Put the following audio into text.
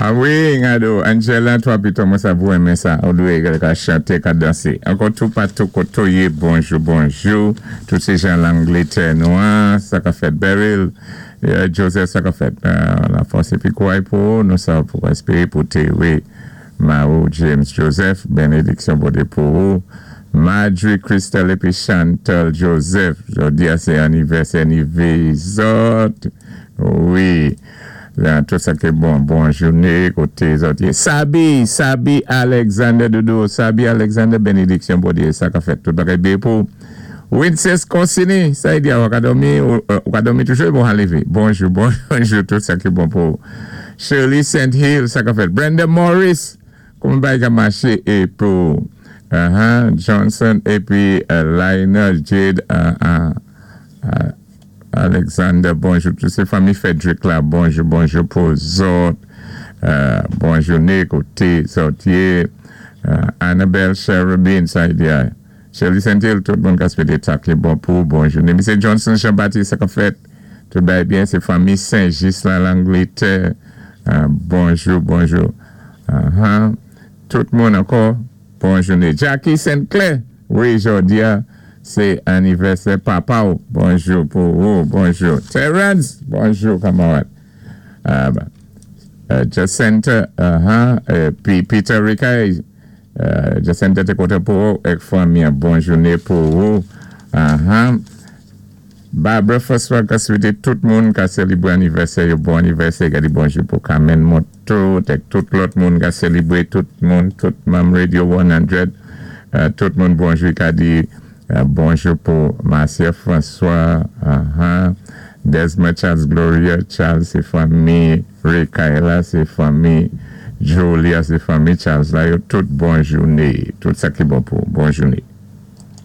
A wi, gado, Angela, twa pito, mwen sa pou renmen sa. Ou dwé ka chanté, ka dansé. Ankò toupatou koté ou yé, bonjou, bonjou. Tout sé jan Langlétè nou an, sa ka fèt Beryl, Joseph sa ka fèt. Lafòs épi kouray pou nou sa pou espéwé pou Terry, Mao, James, Joseph, bénédiksyon Bondyé pou ou. Marjorie, Christelle épi Chantal Joseph, jòdi a sé anivèsè ni zòt. Wi. Tout sa ki bon, bon jouné, koté zòt yé. Sabi, Sabi Alexander Doudou, Sabi Alexander, bénédiksyon Bondyé, sa ka fèt, tout bagay byen pou. Winces Corsini, sa i di ou ka dòmi, ou ka dòmi toujou, bon lévé. Bonjou, bonjou, tout sa ki bon pou. Shirley St. Hill, sa ka fèt. Brenda Morris, kouman bagay ka maché é pou Johnson épi Lionel Jade Alexander, bonjou. Tout sé fanmi Frederick la, bonjou, bonjou pou zòt. Bon jouné, koté zòt yé. Annabelle Cherubin, sa i di Shirley St. Hill, tout moun ka swété sa ki bon pou, bon jouné. Misye Johnson Jean-Baptiste, sa ka fèt. Tout bagay byen, sé fanmi Saint-Just la, Langlétè. Bonjou, bonjou. Tout moun ankò, bon jouné. Jackie St. Clair, wi, jòdi a, sé anivèsè papa ou. Bonjou pou ou, bonjou. Terence, bonjou, kanmarad. Jacinta, épi Peter Ricay, Jacinta té kontan pou ou, èk fanmi, bon jouné pou ou. Barbara François ka swété tout moun ka sélébré anivèsè yo bon anivèsè, gadi bonjou pou Carmen Moto, èk tout lòt moun ka sélébré, tout moun, tout manm Radio 100, tout moun bonjou, ka di bonjou pou Marcia François, Desmond Charles, Gloria Charles, sé fanmi Rekaila, sé fanmi Jolia, sé fanmi Charles la yo, tout bon jouné, tout sa ki bon pou bon jouné.